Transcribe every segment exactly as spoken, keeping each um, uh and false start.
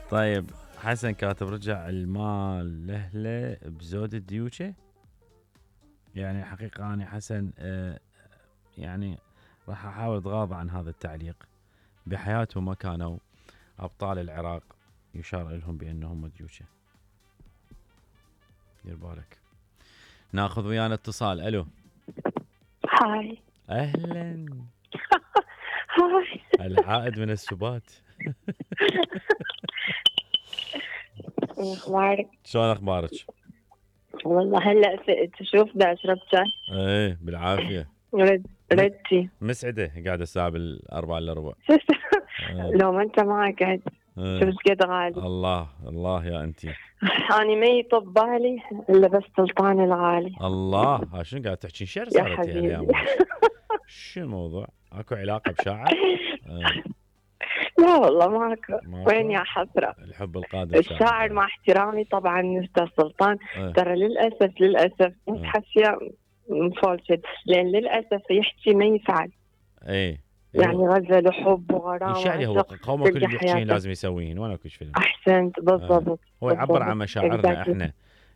طيب حسن كاتب رجع المال لأهله بزود الديوشة. يعني حقيقة أنا حسن آه يعني راح أحاول أتغاضى عن هذا التعليق. بحياتهم ما كانوا أبطال العراق يشار لهم بأنهم ديوشة. دير بالك. ناخذ ويانا اتصال. ألو. هاي. أهلا. هاي. العائد من السبات. اخبارك؟ شلون اخبارك؟ والله هلا فقت. شوف بدي اشرب شاي. ايه بالعافيه. رد ردتي مسعده قاعده الساعه بالاربعه الا ربع. لو ما انت معك قاعد شو بس قد غالي. الله الله يا انتي. اني ما يطب بالي الا بس سلطان الغالي. الله شنو قاعد تحكي شعر يا صارت حبيبي. شو الموضوع؟ اكو علاقه بشاعر؟ آه. لا والله ماكو. وين يا حسره الحب القادم. الشاعر مع احترامي طبعا استاذ سلطان. آه. ترى للاسف للاسف مش آه. حاسيه مفولشد لان للاسف يحكي ما يفعل. ايه يعني غزل وحب وغرام يشعري هو قومه كل اللي يحكين لازم يسويهن وانا كل فيلم. احسنت بالضبط. آه. هو يعبر عن مشاعرنا احنا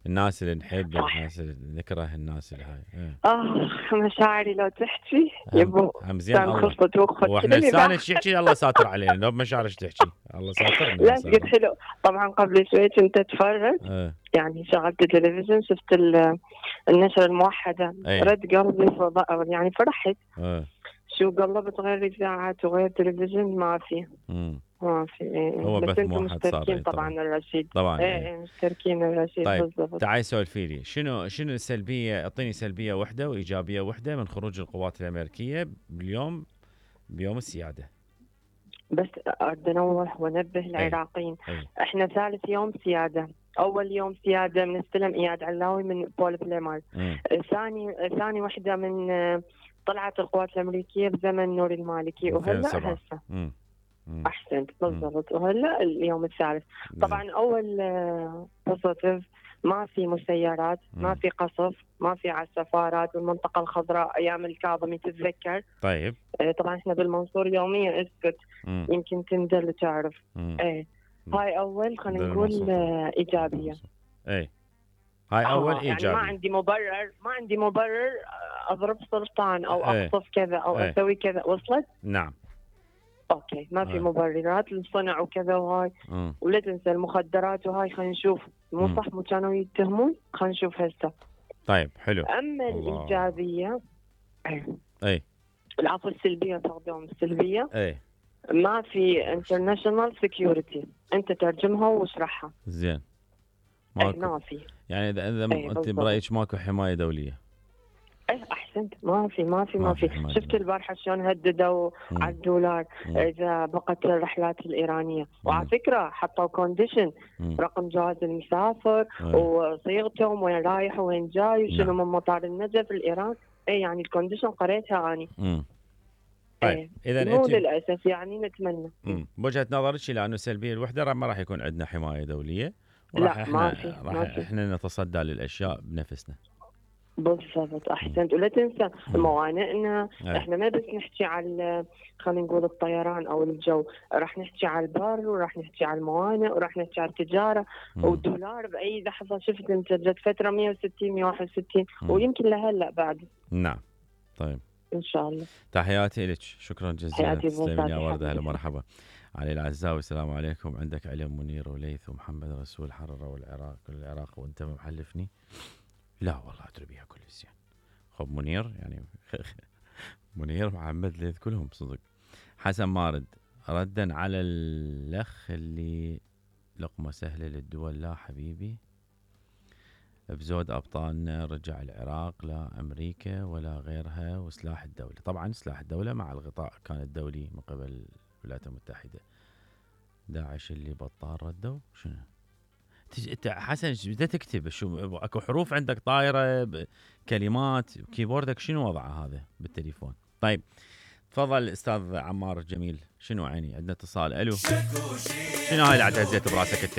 الناس اللي نحب الناس اللي نكره الناس اللي هاي. اه مشاعري لو تحكي يبو زين الله. واحنا لسانك تحكي الله ساتر علينا لو بمشاعرك تحكي الله ساتر. لا قلت حلو طبعا قبل شوي كنت اتفرج اه. يعني شغلت التلفزيون شفت النشرة الموحدة. ايه. رد قلبي فضاء يعني فرحت. اه. شو قلبت غير اذاعات وغير تلفزيون ما في. امم ما في. إيه. هو بس بث انتم موحد صار. مشتركين طبعا الرشيد. طبعا ايه, إيه. مشتركين الرشيد. طيب بالضبط. تعالي سولفي لي شنو شنو السلبيه. اعطيني سلبيه واحده وايجابيه واحده من خروج القوات الامريكيه باليوم بيوم السياده. بس اريد انوه وانبه العراقيين. أي. احنا ثالث يوم سياده. اول يوم سياده بنستلم اياد علاوي من بول بليمار. ثاني ثاني وحده من طلعت القوات الامريكيه بزمن نور المالكي وهلا هسه. احسنت بالضبط. وهلا اليوم الثالث. طبعا اول بوزيتيف ما في مسيرات. مم. ما في قصف. ما في على السفارات والمنطقه الخضراء ايام الكاظمي تتذكر. طيب طبعا احنا بالمنصور يوميا اسكت. مم. يمكن تندل تعرف. مم. ايه هاي اول خلينا نقول ايجابيه. ايه هاي اول آه ايجابيه. يعني ما عندي مبرر ما عندي مبرر اضرب سلطان او ايه. اقصف كذا او ايه. اسوي كذا. وصلت؟ نعم. اوكي ما في ايه. مبررات للصنع وكذا وهاي. مم. ولا تنسى المخدرات وهاي. خلينا نشوف مو صح مو كانوا يتهمون. خلينا نشوف هسه. طيب حلو. اما الله. الايجابيه اي اي العفو السلبيه تقدم السلبيه. اي ما في انترناشونال سكيورتي. انت ترجمها واشرحها. زين ماكو. ما في. يعني اذا اذا انت برايك ماكو حمايه دوليه. ايه احسنت. ما في ما في ما, ما في, في. شفت البارحه شلون هددوا مم. على الدولار مم. اذا بقت الرحلات الايرانيه. مم. وعلى فكره حطوا كونديشن رقم جواز المسافر مم. وصيغتهم وين رايح وين جاي وشنو من مطار النجف الايران. ايه يعني الكونديشن قريتها اني. مم. طيب ايه. اذا مو انت... للاسف يعني نتمنى. بوجهه نظرك الى انه السلبيه الوحده ما راح يكون عندنا حمايه دوليه وراح لا احنا ما في. راح ما في. احنا نتصدى للاشياء بنفسنا. بالضبط احسنت. ولا تنسى موانئنا. احنا ما بس نحكي على خلينا نقول الطيران او الجو. راح نحكي على البر وراح نحكي على الموانئ وراح نحكي على التجاره. والدولار باي لحظه شفت انت جت فتره مية وستين مية وواحد وستين ويمكن لهلا بعد. نعم. طيب ان شاء الله. تحياتي لك. شكرا جزيلا. تسلمين يا ورده. هلا مرحبا. علي العزاوي السلام عليكم. عندك علم منير وليث ومحمد رسول حرره والعراق العراق وانت محلفني. لا والله ادري بيها كل زين. خب منير يعني منير محمد ليث كلهم صدق. حسن مارد ردا على الاخ اللي لقمه سهله للدول. لا حبيبي بزود ابطالنا رجع العراق لا امريكا ولا غيرها. وسلاح الدوله طبعا سلاح الدوله مع الغطاء كان الدولي من قبل الولايات المتحده. داعش اللي بطال ردوا شنو انت حسن بدأت تكتب شو اكو حروف عندك طايره كلمات كيبوردك شنو وضعه هذا بالتليفون. طيب تفضل استاذ عمار جميل. شنو عيني عندنا اتصال. الو شنو هاي اللي عاد هزيت براسك